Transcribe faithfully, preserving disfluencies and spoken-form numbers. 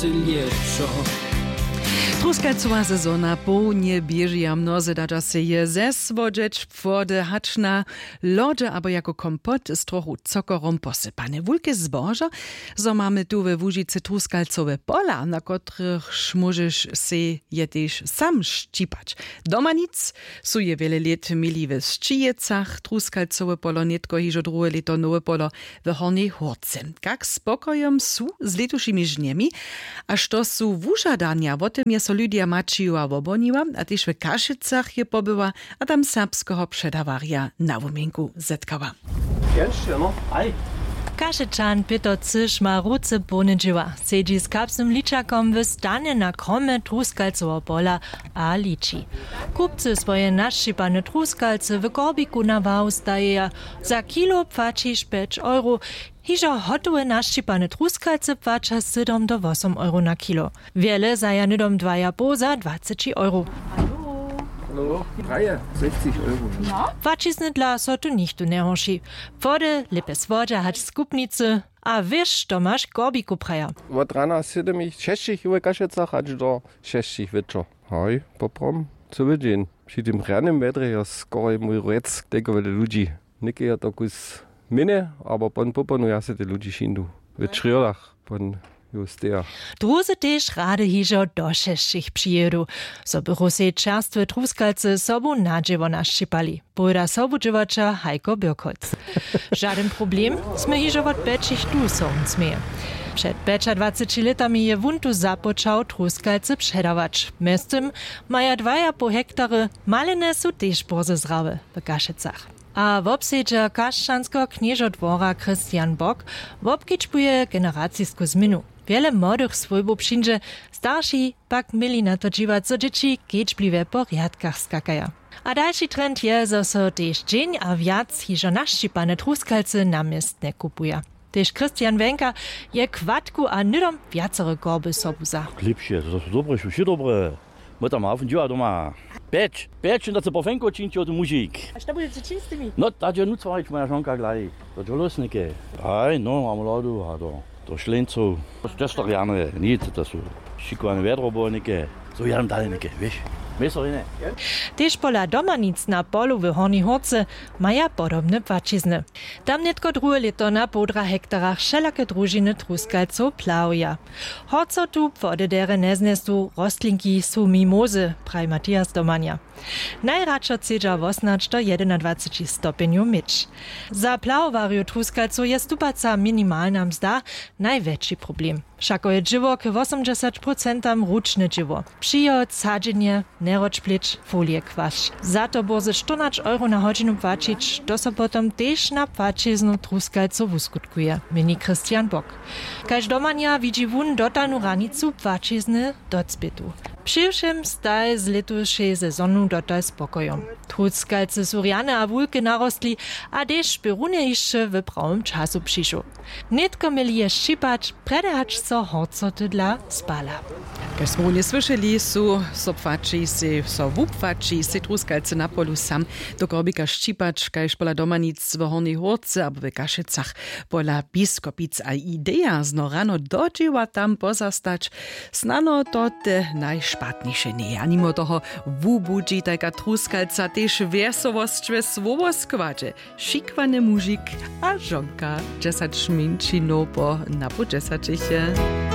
Lěćo. Truskalcowa sezona połnje běži a mnozy dadźa sej je zesłodźeć wody hač na lodźe abo jako kompot z trochu cokorom posypane wulke zbožo. Zo mamy tu we łužicy truskalcowe pola, na kotrychž móžeš sej je tež sam šćipać. Doma nic su je wjele lět měli we sćijecach truskalcowe polo nětko hižo druhe lěto nowe polo w hornjej hórce. Kak spokojom su z lětušimi žnjemi a što su wužadanja wo tym je so lydija maćijowa wobhoniła a tež w kašicach je pobyła a tam serbskeho předawarja na wuměnku zetkała. Kašečan pětr cyš ma ruce połne dźěła, sedźi z kapsnym ličakom w stanje na kromje truskalcoweho pola a liči. Kupcy swoje našćipane truskalce w korbiku na wahu stajeja. Za kilo płaćiš pjeć euro. Hižo hotowe našćipane truskalce płaća sydom do wosom euro na kilo. Wjele zaja hnydom dwajapoł za dwaceći euro. Płaćizny dla so tu nichtó njehorši. Wody lěpje słodźa hač skupnicy. A wěš to maš korbiku praja. Wot rana sydymich šesćich w kašecach hač do šesćich wječor. Haj, poprom, cyły dźeń. Při tym rjanym wjedrje jo skoraj mój rjec tejko wjele ludźi. Něke jo to kus měnje, abo pon poponu ja se te ludźi šindu w črjodach pon ju steja. Druzy tež rady hižo do šesćich přijědu, zo bychu sej čerstwe truskalce sobu na dźěło našćipali, powěda sobudźěłaća hajko birkholc. Žadyn problem, smy hižo wot pjećich tu so wón směje. Před pjećadwaceći lětami je wón tu započał truskalce předawać. Mjeztym maja dwajapoł hektary. Maliny su tež bórze zrawe w kašecach. A wobsedźer kašćanskeho knježodwora christian bock wobkedźbuje generacisku změnu. Wjele młodych swójbow přińdźe, starši pak měli na to dźiwać zo dźěći kedźbliwje po rjadkach skakaja. A dalši trend je zo so tež dźeń a wjac hižo našćipane truskalcy na městnje kupuja. Tež christian wenka je kładku a hnydom wjacore korby sobu za. Lěpše to su dobre su wšě dobre. My tam hafn dźěła doma. Pjeć pjeć da se po fenko čińći o tym mužik. A što budźeće čiń z tymi? No tak je nucwarić moja žonka glaj. To dźolosnike. Aj no mam lodu a do do šleńcow. Tež to rjane nic to su šikowane wjedro było něke. Zo jadam dale něke, wěš. Měso rjene. Tež pola domanic na polu w hornjej hórce maja podobne płaćizny. Tam nětko druhe lěto na połdra hektarach wšelake družiny truskalcow plawja. Horcotu płody derje njeznjesu, rostlinki su mimozy, praji matthias domanja. Najradšo chcedźa wosnać do jedenadwaceći stopjenjow měć. Za plawowarjow truskalcow je stupaca minimalna mzda najwjetši problem. Wšako je dźěło k wosomdźesać procentam ručne dźěło, přijod, sadźenje, njerodź plěć, folije kwašć. Za to bórze štyrnaće euro na hodźinu płaćić, to so potom tež na płaćiznu truskalcow wuskutkuje, měni christian bock. Kaž domanja widźi wón dotalnu hranicu płaćizny docpětu. Při wšěm staj z lětušej sezonu dotal spokojom. Truskalce su rjane a wulke narostli, a tež bě runje hišće w prawym času přišoł. Nětko měli je šćipać, prjedy hač so horcoty dla spala. Kaž smy runje słyšeli, su so płaći sej so wupłaći sej truskalce na polu sam do korbika šćipać kaž pola domanic w hornjej hórce abo w kašecach. Pola biskopic a ideja zno rano do dźěła tam pozastać, snano to te najšpatniše njeje a nimo toho wubudźi tajka truskalca tež wjesowosć we słowoskładźe. Šikłany mužik a žonka, dźesać mjeńšinow po napoł dźesaćich je.